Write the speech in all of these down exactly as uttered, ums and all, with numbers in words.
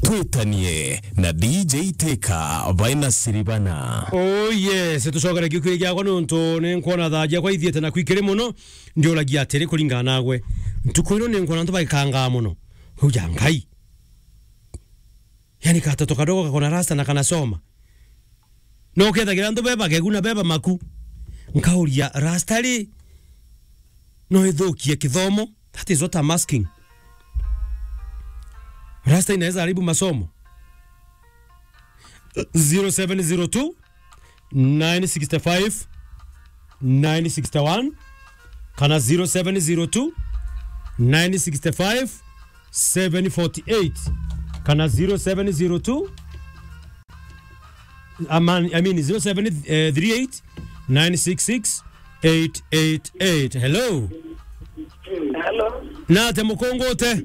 Twitanie na D J Teka baina Siribana. Oh yes, tucokere kiukiri giakwa nontu ni nkwona thaa ciakwa ithiete na kwikiri muno. Ndiuragia atiri, kuringana nagwe, ntuku ino ni nkwona antu bagikangaa muno. Uja Ngai. Yani katoto kadogo kakona rasta na kanasoma. No kethagira antu beba kegu na beba maku. Nkauria, rasta ri, no ithukie kithomo? That is what I'm asking. Rasta inaweza haribu masomo. Zero seven zero two, nine six five, nine six one, kana zero seven zero two, nine six five, seven forty eight, kana zero seven zero two, I mean, I mean, zero seven three eight, nine six six, eight eight eight. Hello. Hello. Nate mukungute?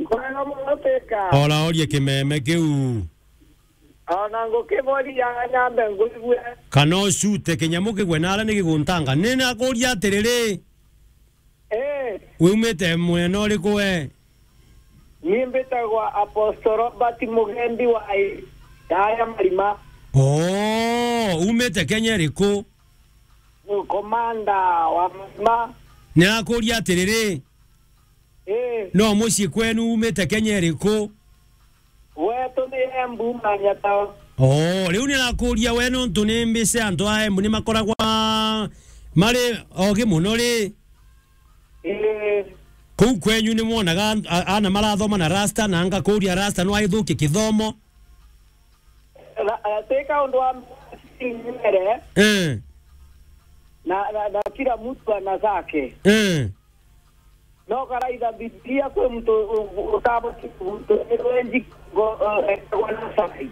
Kwega muno Teka. Ora orie kimeme kiu. Ona ngukiboria nyambe nguigue. Kana ucute kinyamu kigwe nara ni giguntanga. Ni nakuria atiriri. Eh. Wi umite mwena uriku we? Ni mbitagwa Apostle Robert Mugendi wa I-, Yaya Marima. Oh, umite Kenya iriku? Komanda wa Marima. Ni nakuria atiriri. Eh. No mucii kwenu umite Kenya iriku? Wetu ni Embu, Manyata. Oh, riu ni nakuria we, nontu ni mbice antu a Embu ni makoragwa mari ogi muno ri? Eh. Kuu kwenyu ni mwonaga an-, a-, ana marathoma na rasta, na ngakuria rasta no aithukie kithomo? Na, na, ti kaundu wa mbere. Eh. Na, na, na kila mtu ana zake. Eh. No karaitha Biblia kwi muntu u-, u-, utaboti kuthirwa enji go-, eh, ekagwa na side.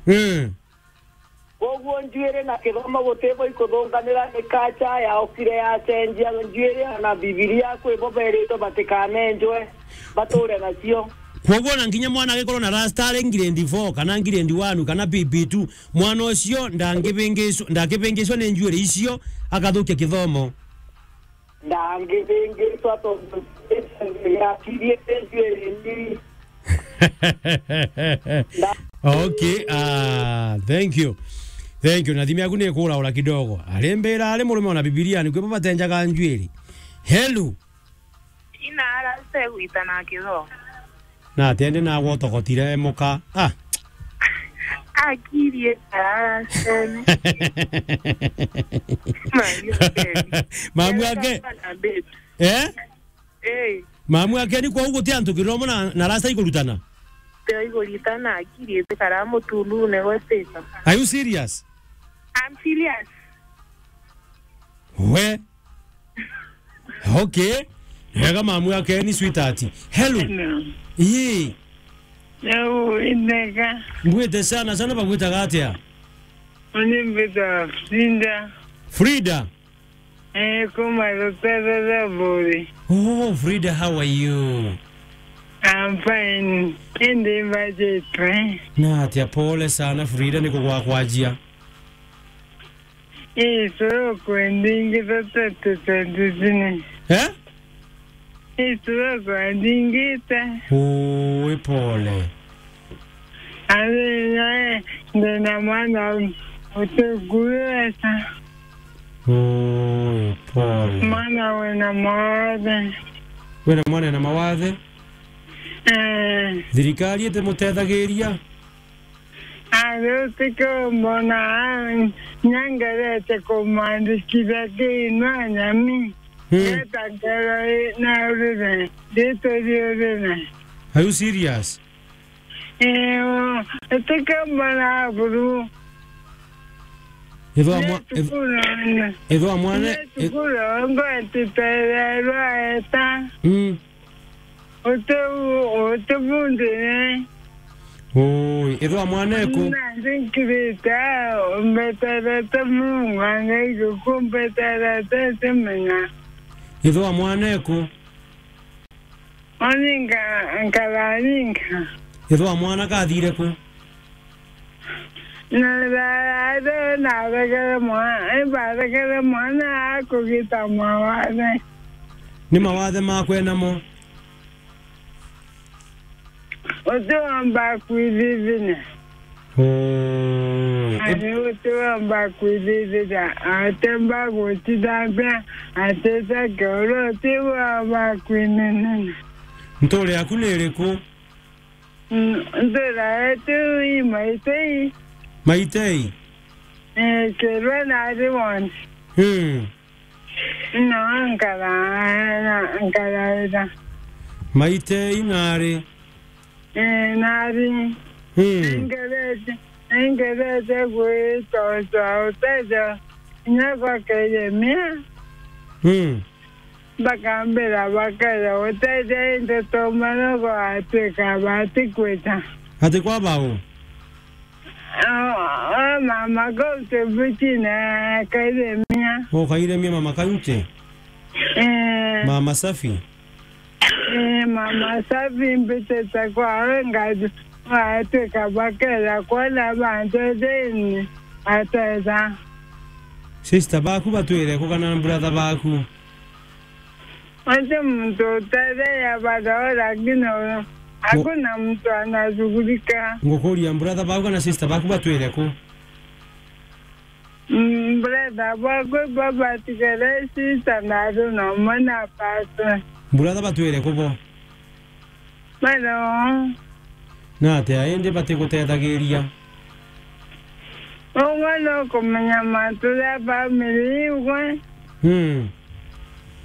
Eh. Koguo njuiri na kithomo gutibo ikuthunganira, ni culture yaukire yacenjia. Njuiri na Bibilia kwibo beritwe batikanenjwe, bature nacio. Kwoguo ona nginya mwana agikorwo na rasta ari grade four, kana grade one, kana P P two, mwana ucio ndangibingicwa, ndakibingicwa ni njuiri icio, akathukia kithomo. Ndangibingicwa tontu yakirie njuiri ni. Okay, ah, thank you. Thank you. Na thimi yaku ni ikuraura kidogo. Arimbira ari murume ona Bibilia, ni kwibo batenjaga njuiri. Hello. Ina arase gwita na kitho. Na atende na gwotokotire muka. Ah. Akirie arase. Mamu ake. Eh? Eh. Mamu ake ni kwa uguti antu kiromo na, na rasta ikurutana? Tio iguritana, akiri iti kara mutundune gwetita. Are you serious? I'm serious. We. Okay. Wega mamu ake ni sweetheart. Hello. Hello. Ii. Yau, inega. Ngwite sana sana, bagwitaga atia? Uni mbita Frida. Frida? Eh, kuma Rutherere Buri. Oh, Frida, how are you? I'm fine. Indi mbajitwe. Na atia, pole sana Frida, ni kugwa kwajia. Ii stroke ndingita twenty twenty-three. Eh? Ii stroke ndingita. Ui, pole. Ari nyae, ndina mwana utikui wesa. Ui, pole. Mwana wina mawathe. Wina mwana ena mawathe? Eh. Thirikari itimutethagiria? Ari utike umbona, nyangerete kumwandikithia kiinwa nyami. Hmm. Geta ngero i-, na urire, ndituri urire. Are you serious? Ii, utike umbona buru. Ithwa mwa-, ith-, ithwa mwana, ith- Cukuru, ngwetitererwa eta. Mm. Uti u-, uti bundi ni. Ui, ithwa mwaneku. Na ndinkirite, umbeterete Mungu, angai gukumbeterete, timenya. Ithwa mwaneku. Oni nka-, nkararinga. Ithwa mwana kathire ku? Na thaathe naregere mwa-, imbaregere mwana akugita mawathe. Ni mawathe makwe namo? utiwamba kwithithina. Oo. Ati utiwamba kwithithina, atemba gutithambia, atita kioro, utiwamba kwinenena. Ntuura yaku ni iriku? Mm, ntuura yetu i Maitei. Maitei? Eh, Kirwe na Riwon. Mm. No, nkara, na, nkaraira. Maitei nari? Eh, nari. Mm. Ningerete, ningerete gwitwa utethio kinya gwa Kairemia. Mm. Bakambira bakaja gutethia into tumanogo atwika batikwita. Ati kwa bau? Ah, ah, mama kaunti mbitine Kairemia. O Kairemia mama kaunti? Eh. Mama Safi? Eh, mama Safi mbitite kwawe ngaji atwika bakeja kwona bantu thini ateza. Sister baku batwire ku kana brother baku? Ati muntu utetheya barao, lakini hakuna mtu anashughulika. Ngukuria, brother baku kana sister baku batwire ku? Mm, brother bakwa babatigere sister na ari nomwe na pastor. Brother batwire ku bo? Bado. Na atia indi batigutethagiria? Ugwe nukumenya mantu ja family igwe. Mm.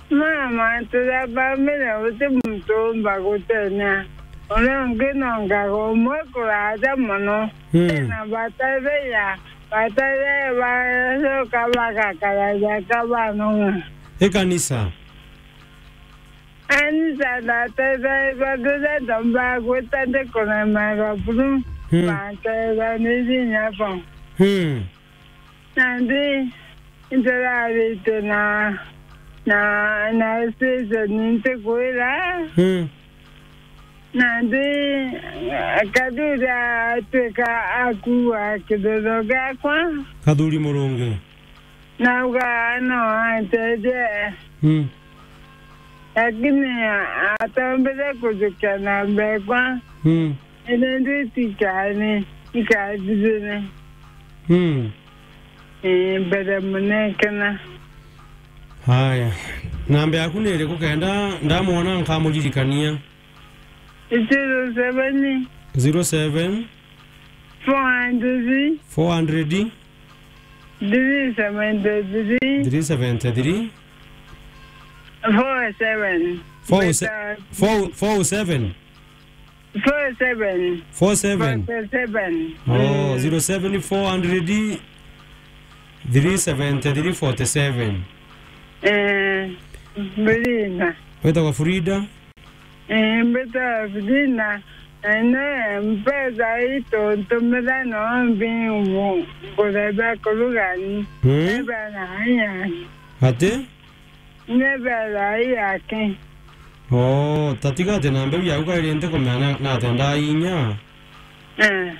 Ma mantu ja family uti muntu umba gutenya. Uria ungi nongaga umwe kuraja mono. Mm. Na batetheya, batetheya bacoka bagakaraja kabanong'a. Ikanisa? Anisa ndatetheerwa riria ndombaga gwita ndikuremerwa buru, mm, banteethanirie inya bo. Mm. Nandi ndirarite na, na, na station ntikwira. Mm. Nandi Kathuri atwika akua kiriro giakwa. Kathuri Murungi. Nauga no anteethie. Mm. Lakini atombire kujukia na mbekwa. Mm. Indi nditikani, ikathithire. Mm. Eh, mbere munekena. Haya. Namba yaku ni iriku kenda ndamwona nkamuririkania? Zero seven. Zero seven. Four hundred. Four hundred. Three seventy-three. Three seventy-three. Four seven. Four se-, four, four seven. Four seven. Four seven. Forty-seven. Oh, mm, zero seven four hundred three seventy-three forty-seven. Eh, Brina. Wetagwa Frida? Eh, mbita Frida. Ene mpesa itu ntumira no mbingu kureba kurugani. Mm. Eba na aya. Ati? Nebera yake. Oh, tatiga ati na mbeu yaku kairi ntikumenya na, na ati ndainya. Eh.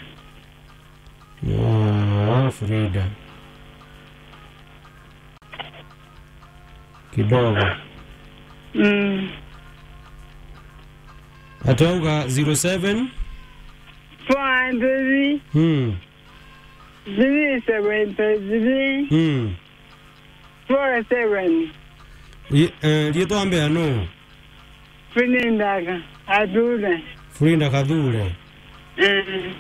Oh, Frida. Kidogo. Mm. Atwauga zero seven? Four hundred. Hmm. Three seventy-three. Hmm. Four seven. Ri-, eh, riitwa mbea nu? Frinda Ka-, Kathure. Frinda Kathure. Eh.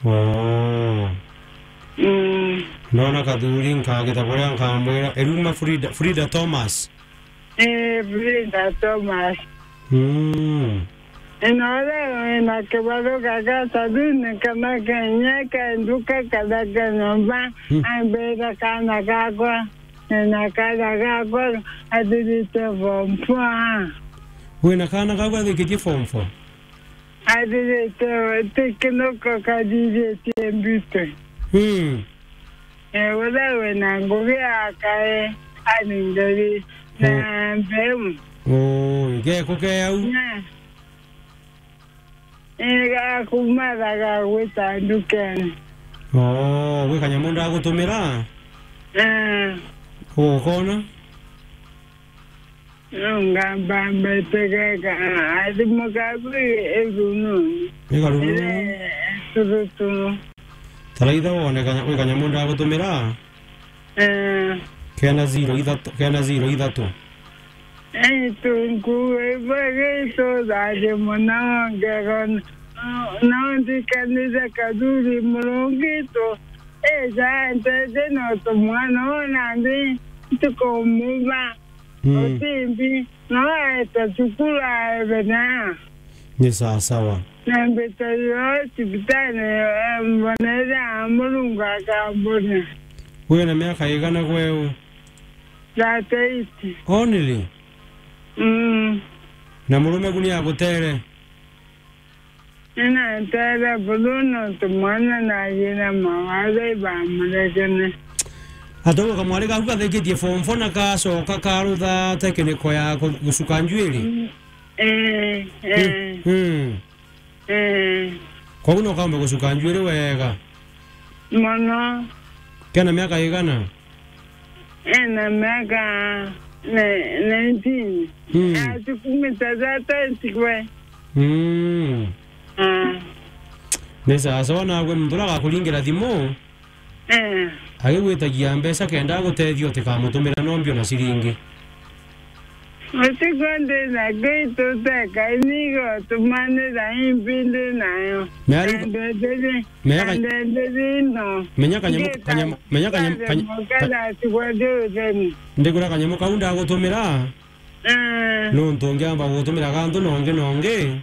Oh. Mm. Ndona Kathuri nkagita buria nkamwira, eruma Frida, Frida Thomas. Eh, Frida Thomas. Mm. Ino uria wina kibaruga gia saluni kana kenya ke nduka kana ke nyomba, mm, ambira kana gakwa, nina kana gakwa athirite form four. Wina kana gakwa athikitie form four? Athirite, ti kinoko kathiritie mbitwe. Mm. Eh, uria wina ngugi akae aningeri na, oh, mbeu. Oh, geko ke au? Na, eh, gakumathaga gwita ndukene. Oh, gwi kanyamu ndagutumira? Eh. Ugukona? Nonga mbamba itegeka, athimo kaku irununi. Igarununi. Ire turutu. Taraitha wone kanya, kwi kanyamu ndagutumira. Eh. Kena zero ithatu, kena zero ithatu. Ei, tunku, ibwe gitu, thathie mono, ngego, no, no ndikanire kathuri Murungu itu. Ija, nteje no tumwana ona ndi, ntikumuba. Mm. Utimbi, no aeta cukuru aebena. Ni sawa sawa. Na mbita yo cibitari, eh, mbonere a Murungu akambona. Wina miaka igana gweu? Thirty-eight. Only? Mm. Na murume ku ni agutere? Ninanteere buru nontu mwana naajire mawatho ibamuregene. Atauga kamwari gaku gathikitie form four na kacoka karutha tekiniko ya ku-, gucuka njuiri? Mm, eh, eh. Mm, mm. Eh. Koguo no kaumbe gucuka njuiri wega? Mono. Kena miaka igana? Ena miaka ne-, nineteen. Mm. Atikumita thirty gwe. Mm. Ah. Ni sawa sawa, nagwe muntu uria agakuringira thimu, eh, agigwitagia mbeca kenda agutethia utikamutumira nombi ona ciringi. Utiko ndi na gitu teka inigo tumanira imbi ndi nayo. Miari- Kandenderi, menya ka-, kandenderi no. Menya kanyamu, ngita, kanyamu, menya kanyamu, kande kanya-, mukara ka-, atigwa ndi utheni. Ndigura kanyamu kau ndagutumira. Eh. Nontu ngiamba gutumira gantu nongi nongi.